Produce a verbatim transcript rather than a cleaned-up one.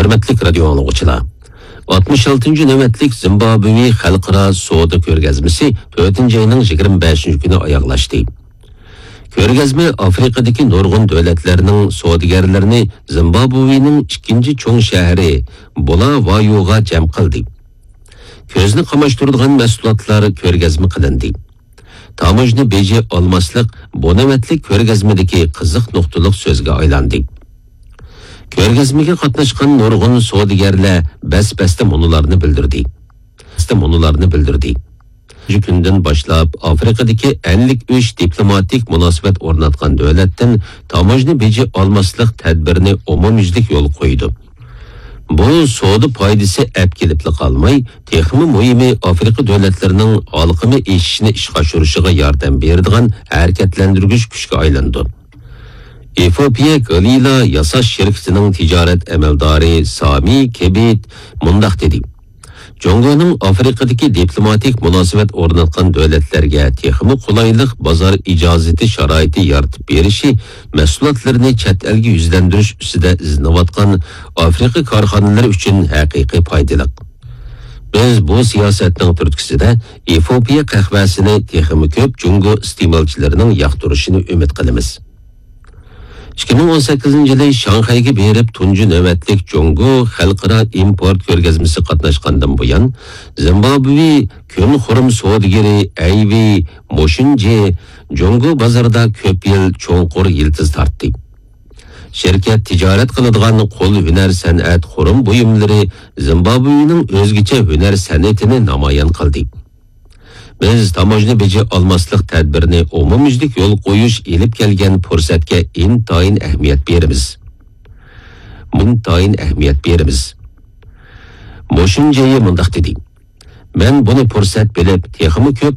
ھۆرمەتلىك رادىيو ئاڭلىغۇچىلار، ئاتمىش ئالتىنچى نۆۋەتلىك زىمبابۋې خەلقئارا سودا كۆرگەزمىسى تۆتىنچى ئاينىڭ يىگىرمە بەشىنچى كۈنى ئاياغلاشتى. كۆرگەزمە ئافرىقىدىكى نۇرغۇن دۆلەتلەرنىڭ سودىگەرلىرىنى زىمبابۋېنىڭ ئىككىنچى چوڭ شەھىرى بۇلاۋايوغا جەم قىلدى. كۆزنى قاماشتۇرىدىغان مەھسۇلاتلار كۆرگەزمە قىلىندى. تاموژنا بېجى ئالماسلىق بۇ نۆۋەتلىك كۆرگەزمىدىكى قىزىق نۇقتىلىق سۆزگە ئايلاندى. كۆرگەزمىگە قاتناشقان نۇرغۇن سودىگەرلەر بەس-بەستە مۇنۇلارنى بىلدۈردى. بەس-بەستە مۇنۇلارنى بىلدۈردى. شۇ كۈندىن باشلاپ ئافرىقىدىكى ئەللىك ئۈچ دىپلوماتىك مۇناسىۋەت ئورناتقان دۆلەتتىن تاموژنا بېجى ئالماسلىق تەدبىرىنى ئومۇميۈزلۈك يولغا قويىدۇ. بۇ سودا پايدىسى ئەپ كېلىپلا قالماي، تېخىمۇ مۇھىمى ئافرىقا دۆلەتلىرىنىڭ ھالقىمى ئېشىشىنى ئىشقا ئاشۇرۇشىغا ياردەم بېرىدىغان ھەرىكەتلەندۈرگۈچ كۈچكە ئايلىنىدۇ. ئېفىئوپىيە گالىلا ياساش شىركىتىنىڭ تىجارەت ئەمەلدارى سامى كېبىت مۇنداق دېدى: جۇڭگونىڭ ئافرىقىدىكى دىپلوماتىك مۇناسىۋەت ئورناتقان دۆلەتلەرگە تېخىمۇ قولايلىق بازار ئىجازىتى شارائىتى يارىتىپ بېرىشى مەھسۇلاتلىرىنى چەت ئەلگە يۈزلەندۈرۈش ئۈستىدە ئىزدىنىۋاتقان ئافرىقا كارخانىلىرى ئۈچۈن ھەقىقىي پايدىلىق. بىز بۇ سىياسەتنىڭ تۈرتكىسىدە ئېفىئوپىيە قەھۋەسىنى تېخىمۇ كۆپ جۇڭگو ئىستېمالچىلىرىنىڭ ياقتۇرۇشىنى ئۈمىد قىلىمىز. ئىككى مىڭ ئون سەككىزىنچى يىلى شاڭخەيگە بېرىپ، تۇنجى نۆۋەتلىك جۇڭگو خەلقئارا ئىمپورت كۆرگەزمىسى قاتناشقاندىن بۇيان، زىمبابۋې كۆن خۇرۇم سودىگىرى ئەيۋى موشۇنجى جۇڭگو بازىرىدا كۆپ يىل چوڭقۇر يىلتىز تارتتى. شىركەت تىجارەت قىلىدىغان قول ھۈنەر سەنئەت خۇرۇم بۇيۇملىرى زىمبابۋېنىڭ ئۆزگىچە ھۈنەر سەنئىتىنى نامايان قىلدى. بىز تاموژنا بېجى ئالماسلىق تەدبىرىنى ئومۇميۈزلۈك يولغا قويۇش ئېلىپ كەلگەن پۇرسەتكە ئىنتايىن ئەھمىيەت بېرىمىز. ئىنتايىن ئەھمىيەت بېرىمىز. موشۇنجېيى مۇنداق دېدى: مەن بۇنى پۇرسەت بىلىپ، تېخىمۇ كۆپ